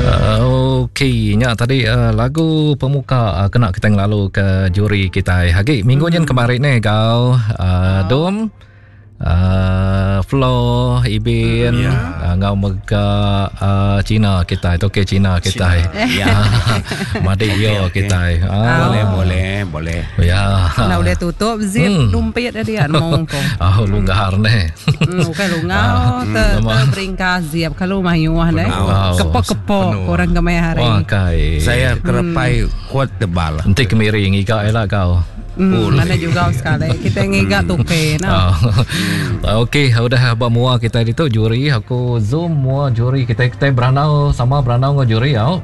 Okey, nya tadi uh, lagu pemuka uh, kena kita ngelalu ke juri kita. Agi minggu nyen kemari ni gau uh, Dom uh, Flo Ibin yeah. uh, ngau mega uh, Cina kita itu ke Cina kita. Ya. Madi yo kita. Ah. Boleh boleh boleh. Ya. Nah, boleh tutup zip hmm. lumpit dia nemu ko. Oh, lunggar ni. Hmm, bukan lunggar, hmm. ter, terbringkas zip kalau mayuh ne. Kepok-kepok orang kemai hari. Wah, kai. Saya kerepai hmm. kuat tebal. Enti kemiri ngiga ela kau. Hmm, mana juga sekali. Kita ngiga tuke nah. Oh. Okey, udah ba mua kita ditu juri. Aku zoom mua juri kita kita berandau sama berandau enggau juri au.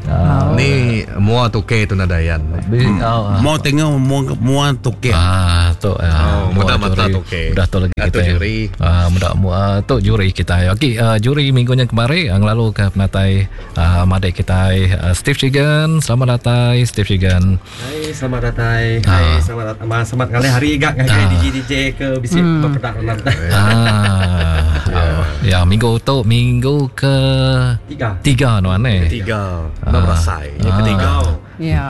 Uh, Ni mua tuke tu nadayan. Hmm. Oh, Mau tengok mua mua tuke. Ah, tu ah, oh, muda mata tuke. Udah tu lagi ah, kita. juri. Ah, muda mua tu juri kita. Okey, uh, juri minggu nya kemari uh, ngelalu ke penatai uh, madik kita uh, Steve Chigan. Selamat datang Steve Chigan. Hai selamat datai. Hai selamat datang. Selamat ngalih hari gak ngagai DJ DJ ke bisi hmm. bepedak dalam. Ah. Ya, minggu tu minggu ke tiga. Tiga nuan eh. Ketiga. Enda berasai. Ya ketiga. Ya.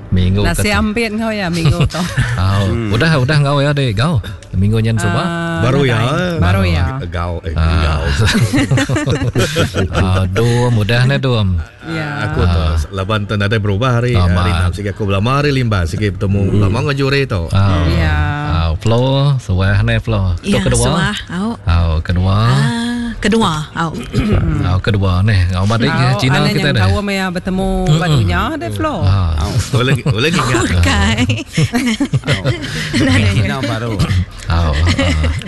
Minggu Nasi ampit kau ya minggu tu. Oh, udah udah ngau ya dek gau. Minggu nyen suba. Ah, Baru ya. Baru ya. Gau eh gau. Ah, dum udah ne dum. Ya. Aku tu laban tu nadai berubah hari hari enam sigi aku belama hari limba sigi betemu belama enggau juri tu. Ya. Ah, Flo, suah ne Flo. Tu Ya, kedua. suah. Au. Au kedua. Ah, kedua. Au. Au kedua ne. Ngau madik Au, Cina anak kita yang deh. tahu maya betemu ba dunya deh Flo. Ah. Boleh boleh ingat. Bukan. Cina baru. Au. ah.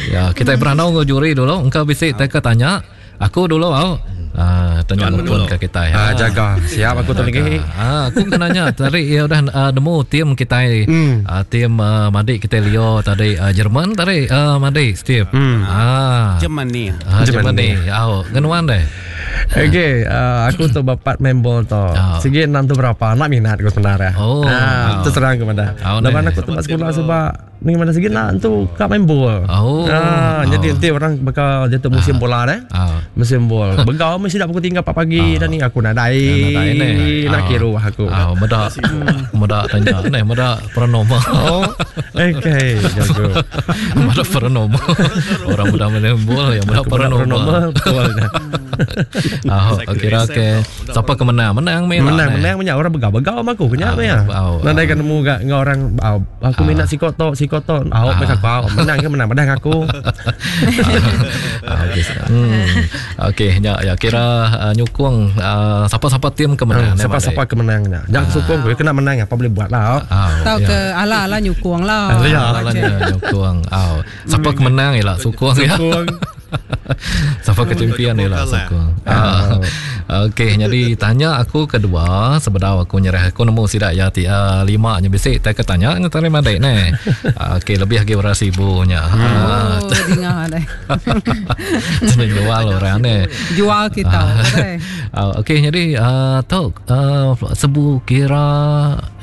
Ya, kita berandau enggau juri dulu. Engkau bisi teka tanya. Aku dulu au. Ah, tanya Tuan pun dulu. ke kita. Ah, jaga. Siap aku tu lagi. Ah, aku kena nanya tadi ya udah uh, nemu tim kita mm. uh, tim uh, Madik kita Leo tadi uh, Jerman tadi uh, Madik Steve. Mm. Ah. Germany. Ah, Jerman ni. Au, ngenuan deh. Okey, uh, aku tu bapak main bol tu. Ah. Sigi enam tu berapa? Nak minat aku sebenarnya. Oh. Ah, terus terang kepada. Oh, Lepas neh. aku tu sekolah sebab ni mana segi nak tu kat main bol. Oh. Ah, Oh. jadi nanti orang bakal dia tu musim bola deh. Ah. Musim bol. Begau mesti dak pukul 3 4 pagi dan ni aku nak dai. Nadai ni. Nak Ah. kira aku. Ah, medak medak tanya ni, medak perenoma. Oh. Okey, jago. Medak perenoma. Orang muda main bol yang medak Aku medak perenoma. perenoma betul. Ah, kira ke siapa ke menang? Menang meh lah, Menang neh. menang banyak orang begau-begau sama aku kenyak Ah, ya. ah, Nadai kan nemu gak ngau orang ah, aku minat si kotok si kotok. Ah, macam aku ah, menang ke menang padahal aku. Ah, okey. Hmm. Okey, ya, ya kira uh, nyukung uh, siapa-siapa tim ke menang. Hmm, Siapa-siapa ke menangnya. Jangan sokong aku kena menang apa boleh buat lah. Ah, Tahu ke ala-ala nyukung lah. Ya. Ala nyukung. Ah, siapa ke menang ialah sokong ya. Sokong. Siapa ke champion ialah sokong. Ah. Okey, jadi tanya aku kedua sebedau aku nyerah aku nemu sidak ya ti uh, lima nya bisi tak ke tanya nya tadi madai ne. Ah, Okey, lebih lagi orang sibunya. Ah, Oh, dengar deh. Senang jual orang ni. Jual kita. deh. Uh, Okey, jadi uh, tu uh, sebu kira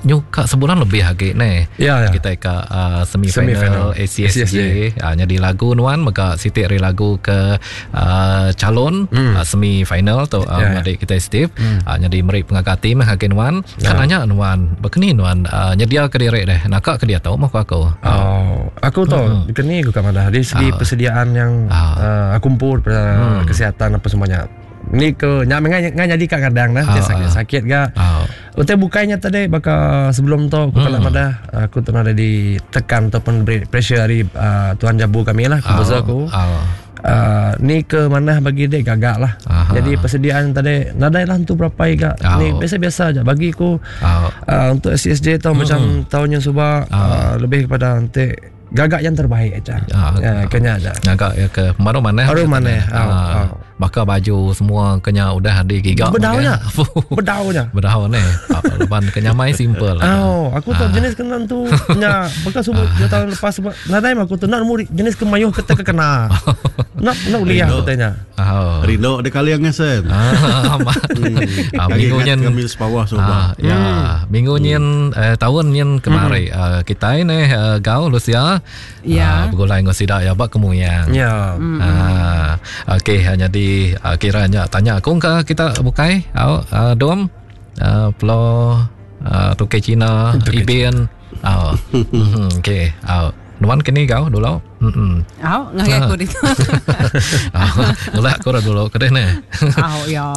nyuka sebulan lebih lagi ni. Ya, ya. Kita ke uh, semi Semi-final final ACSJ. Uh, jadi lagu nuan mega sitik ri lagu ke uh, calon hmm. uh, semi final tu uh, Ya, ya. adik kita Steve. Hmm. Uh, jadi meri pengagati meh hagi nuan. Ya. Kan nanya nuan, bekeni nuan uh, nyedia ke diri deh. Nakak ke dia tau mah aku. Oh, aku tu kini aku kat mana dari segi persediaan yang uh, aku kumpul pada kesihatan apa semuanya. Ni ke nyak mengai ngai jadi kat kadang dah, Ah, uh, sakit sakit ga. Ah. Utai bukainya tadi baka sebelum tu aku kalau madah aku tu ada ditekan ataupun beri pressure dari uh, tuan jabu kami lah, komposer aku. Ah. Uh, ni ke mana bagi dia gagak lah. Aha. Jadi persediaan tadi nadai lah tu berapa iga. Oh. Ni biasa-biasa aja bagi aku. Ah. Uh, untuk SSJ tu macam tahun yang subah uh, lebih kepada nanti gagak yang terbaik aja. Ah. Ya, kena aja. Ngagak ya ke baru mana? Baru mana, Ah, ah, ah. Bakal baju semua kena udah digigak. Bedaunya. Bedaunya. Bedau ni. Ah, Lepas kenyamai simple. Oh, aku tu jenis kena tu nya bekas subuh dua tahun lepas subuh nadai mah aku tu nak muri jenis kemayuh kete kena. Nak nak uliah aku tanya. Oh. Rindu ada kali yang ngesen. Ah, amat. Ah, Lagi minggu ingat nyen kami sepawah Ah, subah. ya, minggu nyen eh, tahun nyen kemari ah, kita ni eh, gau Lucia. Ya. Ah, bergulai dengan sidak ya bak kemuyang. Ya. Ah, okey, jadi Jadi uh, kira nya tanya aku ke kita bukai au uh, dom uh, pelo uh, tukei Cina Ibin au. Mhm okey au. Nuan kini kau dulu. Mhm. Au ngagai aku ditu. Au ngelak aku dulu ke deh ne. Au ya.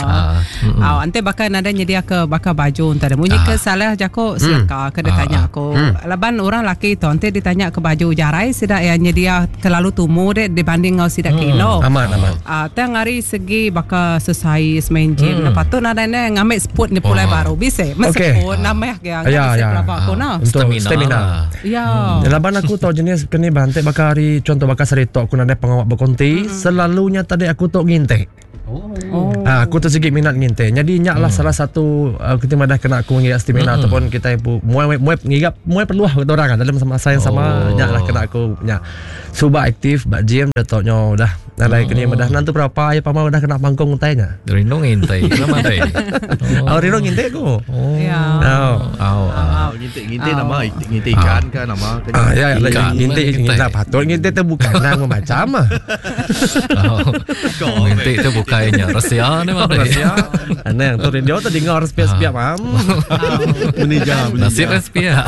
Au enti baka nadai nyedia ke baka baju enta deh. Munyi ke salah jaku seleka ke ditanya aku. Laban orang laki tu enti ditanya ke baju jarai sida iya nyedia kelalu tumu deh dibanding enggau sida ke indu. Amat amat. Tang ari segi baka sesais main gym ne patut nadai ne ngambi seput ne pulai baru bisi. Meseput nambah ke bisi pelaba aku nah. Untuk stamina. Ya. Laban aku tau jenis keni bantik baka hari contoh baka saritok aku nadai pengawa bekonti, mm. selalunya tadi aku tu ngintik. Oh. Ha, aku tu sigi minat ngintik. Jadi nya lah mm. salah satu uh, kita madah kena aku ngiga stamina mm. ataupun kita ibu muai muai ngiga muai perlu lah orang kan dalam masa yang sama oh. nya lah kena aku nya. Suba aktif ba gym dah tok nyo dah. Nadai keni madah nanti berapa ya pama udah kena pangkong utai nya. Rindu ngintai nama dai. Oh, rindu ngintai aku. Oh. Ya. Oh. Oh. Oh. Ngintai ngintai nama ngintai ikan ke nama ke. Ah ya, ya ngintai ngintai patut ngintai tu bukan nang macam ah. Oh. Ngintai tu bukannya rahsia ni mah. Rahsia. Aneh tu radio tu dengar sepia-sepia mam. Menija, menija. Nasib sepia.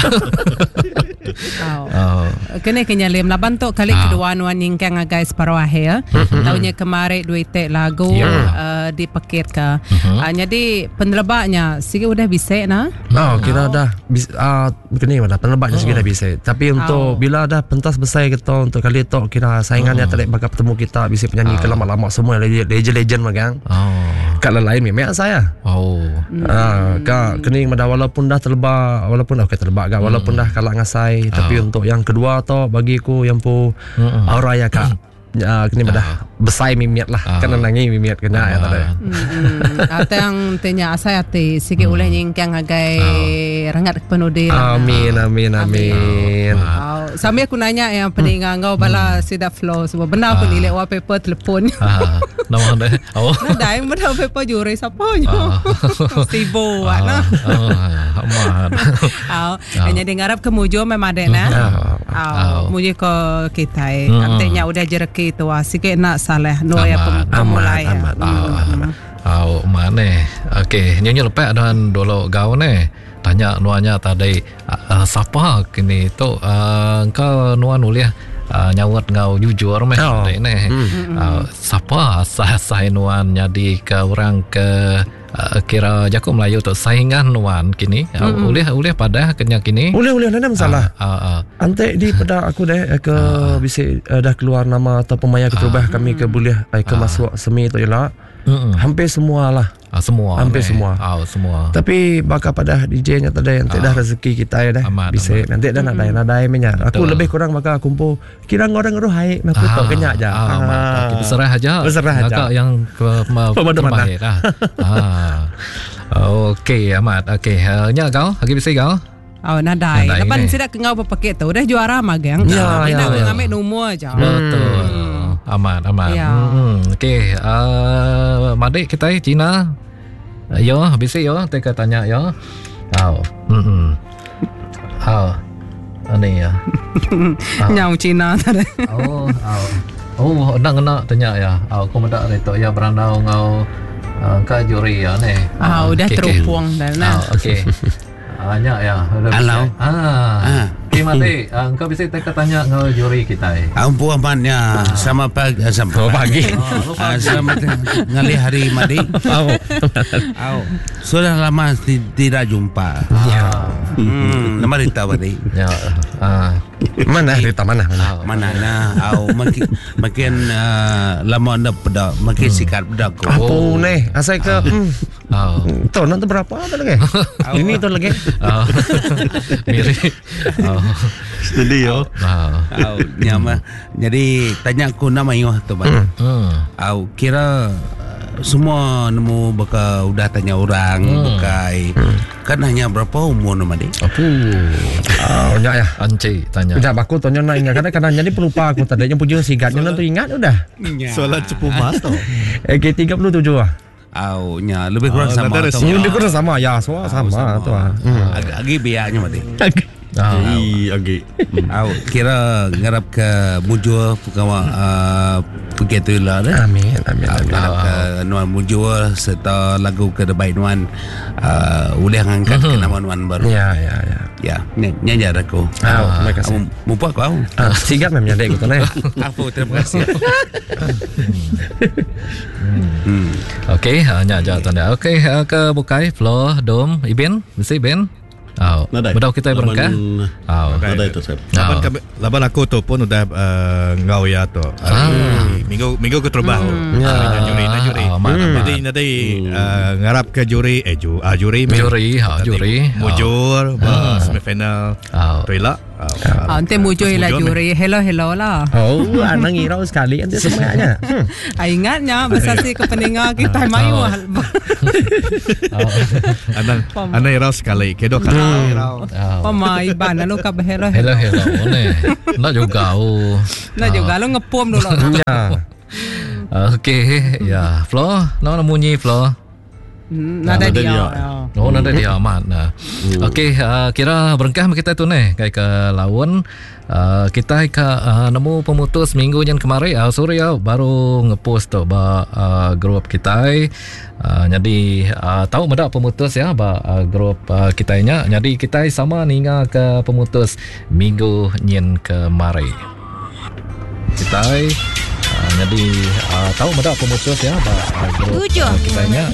Oh. Kena ke nyalim laban tu kali ah. kedua nuan nyingkang ngagai separuh akhir. Mm-hmm. Tahunnya kemari duit tek lagu yeah. uh, dipekit ke. Mm-hmm. Uh, jadi penelebaknya sigi udah bisa nah. Oh, kira oh. dah uh, kini mana penelebaknya oh. sigi dah bisa. Tapi untuk oh. bila dah pentas besar kita untuk kali tu kira saingannya oh. telik bakal bertemu kita bisa penyanyi oh. ke lama-lama semua legend-legend magang. Oh. Kat lain memang saya. Oh. Ah, ka kening mada walaupun dah terlebak walaupun okey terlebak gak walaupun dah kalak ngasai oh. tapi untuk yang kedua tu bagi ku yang pu aura ya kak uh, kini madah besai mimiat lah uh. kan nangi mimiat kena ya tadi. Atang tanya asai ati sigi ulih nyingkang ngagai rengat penudi lah. Amin amin amin. Oh, sambil aku nanya yang peninga enggau bala sida flow semua benar aku nilik wallpaper telefon. Nama deh. Oh. Nadai meda paper juri sapa nyo. Sibuk nah. Amat. Au, jadi ngarap ke mujur memang dek nah. Au, muji ke kitai. Enti nya udah jereki tu sikit nak salah no ya pemulai. Amat. Au, maneh. Okey, nyu nyu lepak dan dulu gau neh. Tanya nuan nya tadi uh, sapa kini tu uh, engkau nuan ulih uh, nyaut enggau jujur meh oh. neh. Hmm. Uh, sapa asai nuan nyadi ke orang ke uh, kira jaku Melayu tu saingan nuan kini uh, hmm. ulih ulih padah kenya kini. Ulih ulih nada masalah. Uh, uh, uh. Ante di pada aku deh ke uh, bisi uh, dah keluar nama atau pemaya keterubah uh, kami ke boleh eh, ke uh, masuk semi tu ialah hampir semua lah. Ah, semua. Hampir semua. Oh, semua. Tapi bakal pada DJ nya tadi nanti dah rezeki kita ya dah. Bisa nanti dah nadai nadai menya. Aku lebih kurang bakal kumpul kira ngorang ngeruh hai aku tak kenyak aja. Ah, berserah aja. Berserah aja. Agak yang ke terbaik lah. Ah. Okey amat. Okey, nya kau lagi bisi kau? Oh, nadai. Laban sida ke ngau bepekit tu udah juara magang. Ya, ya, ya. Ngambil nombor aja. Betul. Amat, amat. Ya. Okey, madik kita Cina. Yo, bisi yo, teka tanya yo. Au. Au. Ani ya. Nyau Cina tadi. Oh, au. Oh, enda ngena tanya ya. Au, aku meda ari tu ya berandau enggau ka juri ya ni. Ah, udah terupung dah nah. Okey. Nya ya. Halo. Ah. Okey mati, engkau bisi teka tanya enggau juri kitai. Ampu amatnya sama pagi sama pagi. Selamat ngalih hari madi. Au. Au. Sudah lama tidak jumpa. Ya. Nama Rita madi. Ya. Mana Rita mana? Mana nah. Au makin makin lama anda peda makin sikat peda ko. Apa ni? Asai ke Tu nanti berapa tu lagi? Ini tu lagi. Miri. Steady yo. Au nyama. Jadi tanya aku nama yo tu bang. Au kira semua nemu baka udah tanya orang bukai. Kan hanya berapa umur nama dia? Apu. Oh, ya ya. Anci tanya. Sekejap aku tanya nak ingat kadang kadang jadi pelupa aku tadi yang puja sigatnya nanti ingat udah. Soalan cepu mas tu. Okay 37 ah. Au nya lebih kurang sama. Lebih kurang sama ya, semua sama tu ah. Agi biaknya mati. Ii agi. Au kira ngarap ke mujur pengawa uh, pegi tu ila deh. Amin amin Au, amin. ngarap ke nuan mujur serta lagu ke debai nuan uh, ulih ngangkat ke nama nuan baru. Ya ya ya. Ya, nya nya jar aku. Au, terima kasih. Au, Mupa aku au. Ah, sigap meh menyadi aku tu neh. Apu terima kasih. Hmm. Okey, ah, nya aja tanda. Okey, ah, ke bukai Flo, Dom, Ibin, bisi Ibin? Au. Nadai. Bedau kita Laban- berengkah. Au. Nadai tu Sep. Laban kami, laban aku tu pun udah uh, ngau ya tu. Hari minggu minggu keterubah tu. Ya. Hari nya juri, nya juri. Ah, amat, amat. Jadi nanti uh, ngarap ke juri eh ju, ah, juri meh. Juri, ha, Tadi juri. Mujur ba semifinal. Ah. Tu ila. Ah, ente mujur lah juri. Hello hello lah. Oh, anang ngirau sekali nanti semuanya. Hmm. Ah, ingatnya besasi ke peninga kita mayu. Anang anang irau sekali. Kedua kali irau. Ah. Pama iban lalu ka hello Hello hello ni. Nak juga oh. Nak juga lu ngepom dulu. Ya. Okey, ya. Flo, nama munyi Flo. Nadai Nadai dia. dia. Ya. Oh, nada dia amat. Nah. Okey, uh, kira berengkah kita tu ni kai ke laun. Uh, kita ke uh, nemu pemutus minggu yang kemari uh, sorry uh, baru ngepost tu ba uh, grup kita. Uh, jadi uh, tahu medak pemutus ya ba uh, grup uh, kita nya. Jadi kita sama ninga ke pemutus minggu nyin kemari. Kita uh, jadi uh, tahu medak pemutus ya ba uh, grup Tujuh. uh, kita nya.